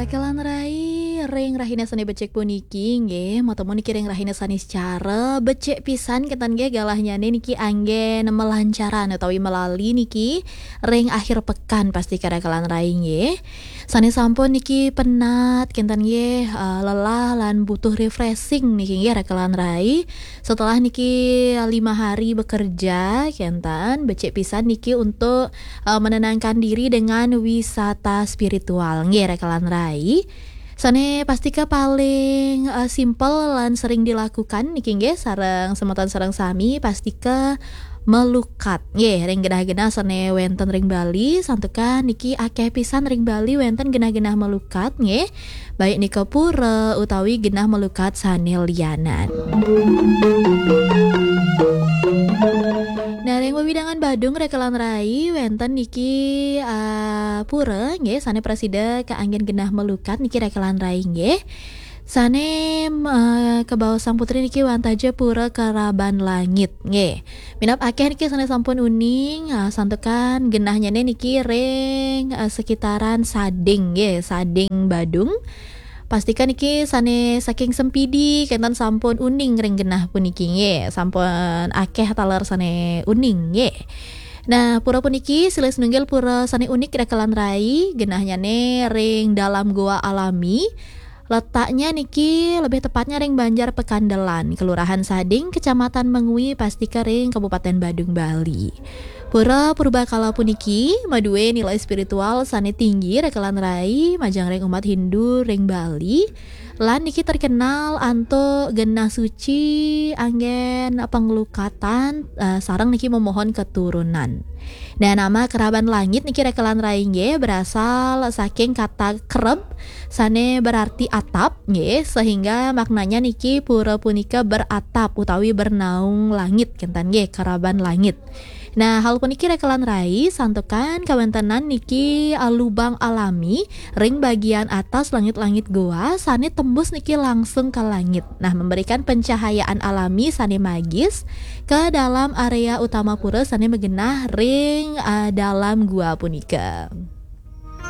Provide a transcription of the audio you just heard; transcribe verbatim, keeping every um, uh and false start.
Rekelan rai, ring rahina sane becik puniki nggih, matemu niki ring rahina Saniscara, becik pisan ketan nggih galahnyane niki anggen melancaran utawi melali niki ring akhir pekan pastika rekelan rai nggih. Sane sampun niki penat ketan nggih, eh, lelah lan butuh refreshing niki nggih rekelan rai. Setelah niki lima hari bekerja ketan, becik pisan niki untuk eh, menenangkan diri dengan wisata spiritual nggih rekelan rai. Sane pastika paling eh, simple lan sering dilakukan niki nggih sareng semeton sareng sami pastika melukat nggih ring genah-genah sane wenten ring Bali, santukan niki akeh pisan ring Bali wenten genah-genah melukat nggih, baik nika pura utawi genah melukat sane lianan. Nah, ring wewidangan Badung rekelan rai wenten niki ah, pura nggih sane prasida kaanggen genah melukat niki rekelan rai nggih. Sane eh, kabaos Sang Putri niki wantah ja pura Keraban Langit nggih. Minab akeh niki sane sampun uning, ah, santukan genahnyane niki ring eh, sekitaran Sading nggih, Sading Badung. Pastika niki sane saking Sempidi ketan sampun uning ring genah puniki nggih, sampun akeh taler sane uning nggih. Nah, pura puniki silih sinunggil pura sane unik rekelan rai, genahnyane ring dalam goa alami. Letaknya niki lebih tepatnya ring Banjar Pekandelan, Kelurahan Sading, Kecamatan Mengwi, pastika ring Kabupaten Badung, Bali. Pura Purbakala puniki madue nilai spiritual sane tinggi rekelan rai majeng ring umat Hindu ring Bali. Lan niki terkenal antuk genah suci anggen panglukatan eh, sareng niki memohon keturunan. Nah, nama Keraban Langit niki rekelan rai nggih berasal saking kata kereb sane berarti atap nggih, sehingga maknanya niki pura punika beratap utawi bernaung langit ketan nggih, Keraban Langit. Nah, hal puniki rekelan rai santukan kawentenan niki eh, lubang alami ring bagian atas langit-langit goa sane tembus niki langsung ke langit. Nah, memberikan pencahayaan alami sane magis ke dalam area utama pura sane magenah ring eh, dalam gua punika.